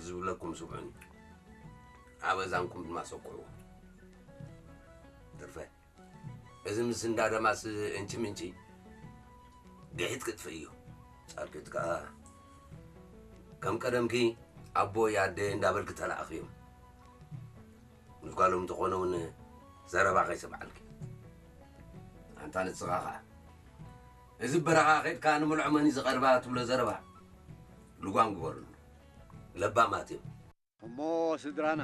ዝብለኩም ስምዑኒ፣ ኣብ እዛንኩም ድማ ሰኩዕዎ። ትርፈ፣ እዚ ምስ እንዳ ደማስ እንቺ ምንቺ ድሒት ክጥፍእ እዩ። ጻልኪት ከኣ ከም ቀደምኪ ኣቦይ ኣደ እንዳበልኪ ተለኣኽዮም። ምስ ጓሎም እንተኾነ እውን ዘረባ ከይሰምዓልኪ። ኣንታ ንስኻ ኸኣ እዚ በረኻ ኸድካ ንምልዖ መን እዩ ዝቐርባ ትብሎ ዘረባ ልጓም ግበርሉ። ለባማት እዮም። እሞ ስድራና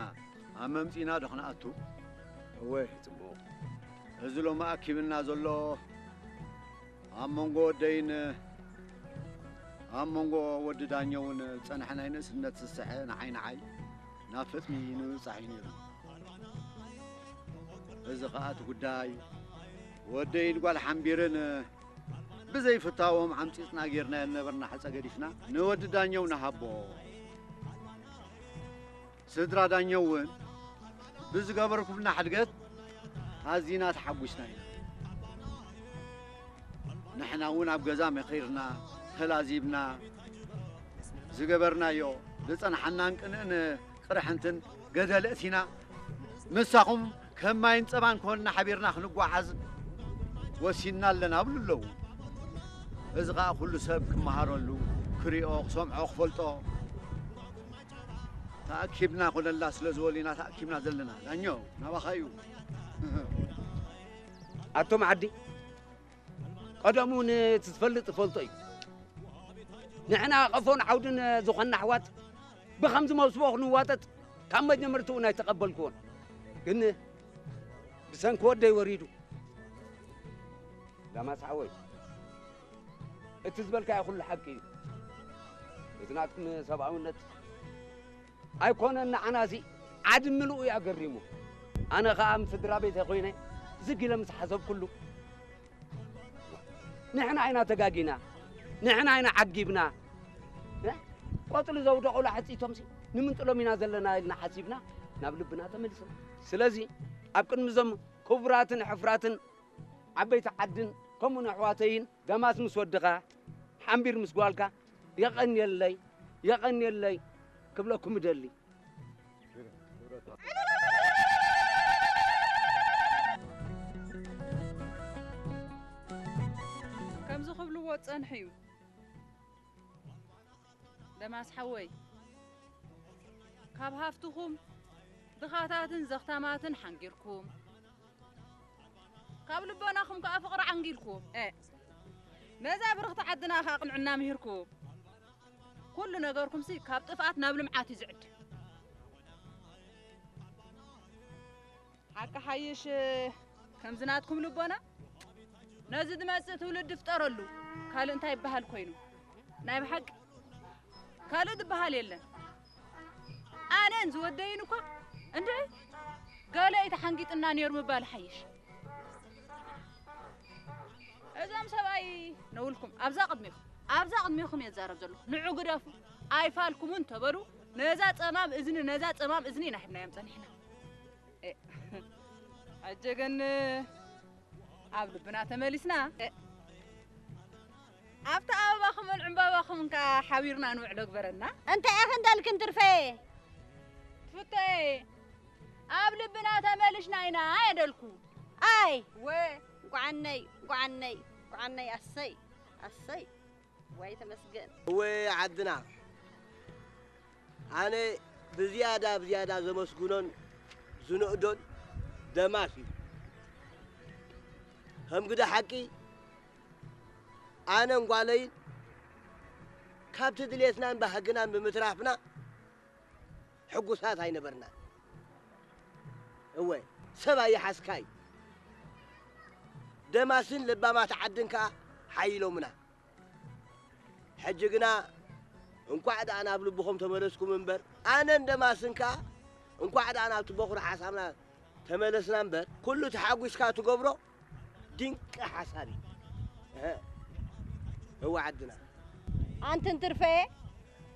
ኣብ መምጺና ዶ ክንኣቱ? እወ፣ ጽቡቕ። እዚ ሎሚ ኣኪብና ዘሎ ኣብ መንጎ ወደይን ኣብ መንጎ ወዲ ዳኘውን ዝጸንሐ ናይ ንእስነት ስስዐ ንዓይ ንዓይ ናብ ፍጽሚ ንምብጻሕ እዩ ነይሩ። እዚ ኸኣ እቲ ጉዳይ ወደይን ጓል ሓምቢርን ብዘይፍታዎም ዓምጺጽና ጌርናዮ ዝነበርና ሕጸ ገዲፍና ንወዲ ዳኘው ንሃቦ። ስድራ ዳኘው እውን ብዝገበርኩምና ሕድገት ኣዚና ተሓጒስና ኢና። ንሕና እውን ኣብ ገዛ መኺርና፣ ተላዚብና፣ ዝገበርናዮ ዝጸንሓናን ቅንእን ቅርሕንትን ገደል እቲና፣ ምሳኹም ከም ማይን ጸባን ኮንና ሓቢርና ክንጓዓዝ ወሲንና ኣለና ብሉ ኣለዉ። እዚ ኸኣ ኩሉ ሰብ ክመሃረሉ፣ ክሪኦ፣ ክሰምዖ፣ ክፈልጦ። ተኣኪብና ኮነላ ስለ ዝበሉ ኢና ተኣኪብና ዘለና። ዳኘው፣ ናባኻ እዩ። ኣቶም ዓዲ፣ ቀደሙ ንትትፈልጥ ትፈልጦ እዩ። ንሕና ቀፎን ዓውድን ዝኾንና ኣሕዋት ብኸምዚ መውስቦ ክንዋጠጥ ካብ መጀመርትኡ ናይ ተቐበልክዎን። ግን ብሰንኪ ወደይ ወሪዱ። ዳማስ ሓወይ፣ እቲ ዝበልካዮ ኩሉ ሓቂ እዩ። እቲ ናትኩም ሰብኣውነት ኣይኮነን ንዓናሲ ዓዲ ምሉኡ እዩ ኣገሪሙ። ኣነ ኸኣ ምስ ስድራ ቤተይ ኮይነ ዝግ ኢለ ምስ ሓሰብኩሉ፣ ንሕና ኢና ተጋጊና፣ ንሕና ኢና ዓጊብና። እ? ቆጽሊ ዘውደቑ ላሕጺቶምሲ ንምንጥሎም ኢና ዘለና ኢልና ሓሲብና ናብ ልብና ተመሊስና። ስለዚ ኣብ ቅድሚ እዞም ክቡራትን ሕፍራትን ዓበይቲ ዓድን ከምኡን ኣሕዋተይን ደማስ ምስ ወድኻ ሓምቢር ምስ ጓልካ የቐንየለይ፣ የቐንየለይ ክብለኩም እደሊ። ከምዚ ክብልዎ ዝጸንሑ እዩ። ደማስ ሓወይ፣ ካብ ሃፍትኹም ድኻታትን ዘኽታማትን ሓንጊርኩም፣ ካብ ልቦናኹም ከኣ ፍቕሪ ዓንጊልኩም፣ እ፣ ነዛ ብርኽቲ ዓድና ከኣ ቅንዕና ምሂርኩም፣ ኩሉ ነገርኩምሲ ካብ ጥፍኣት ናብ ልምዓት እዩ ዝዕድም። ሓቂ ሓይሽ ከምዚ ናትኩም ልቦና ነዚ ዝመጽእ ትውልዲ ፍጠረሉ። ካልእ እንታይ ይበሃል ኮይኑ? ናይ ብሓቂ ካልእ ዝበሃል የለን። ኣነን ዝወደይን እኳ እንድዒ ገለ እዩ ተሓንጊጥና ነይሩ ምባል ሓይሽ። እዞም ሰብኣይ ነውልኩም ኣብዛ ቅድሚኹም ኣብዛ ቅድሚኹም እየ ዝዛረብ ዘለኹ። ንዑ ግደፉ ኣይፋልኩምን ተበሉ። ነዛ ጸማም እዝኒ ነዛ ጸማም እዝኒ ኢና ሂብናዮም ጸኒሕና። እ፣ ሕጂ ግን ኣብ ልብና ተመሊስና። እ፣ ኣብቲ ኣበባኹምን ዕምባባኹምን ከኣ ሓቢርና ንውዕሎ ግበረና። እንታይ ኢኺ እንዳልክን ትርፈየ? ትፍቶየ፣ ኣብ ልብና ተመሊሽና ኢና እየ ደልኩ። ኣይ፣ ወ፣ እንቋዓነይ፣ እንቋዓነይ፣ እንቋዓነይ፣ ኣሰይ፣ ኣሰይ። ወይ ተመስገን። እወ ዓድና፣ ኣነ ብዝያዳ ብዝያዳ ዘመስግኖን ዝንእዶን ደማስ እዩ። ከም ግደ ሓቂ፣ ኣነን ጓለይን ካብቲ ድሌትናን ባህግናን ብምትራፍና ሕጉሳት ኣይነበርናን። እወ፣ ሰብ ኣይሓዝካይ። ደማስን ለባማት ዓድን ከኣ ሓይሎምና። ሕጂ ግና እንቋዕ ደኣ ናብ ልብኹም ተመለስኩም እምበር፣ ኣነን ደማስን ከኣ እንቋዕ ደኣ ናብቲ በኹሪ ሓሳብና ተመለስና እምበር፣ ኩሉ ተሓጒስካ ትገብሮ ድንቂ ሓሳብ እዩ። እህ፣ እወ ዓድና። ኣንትን ትርፈየ፣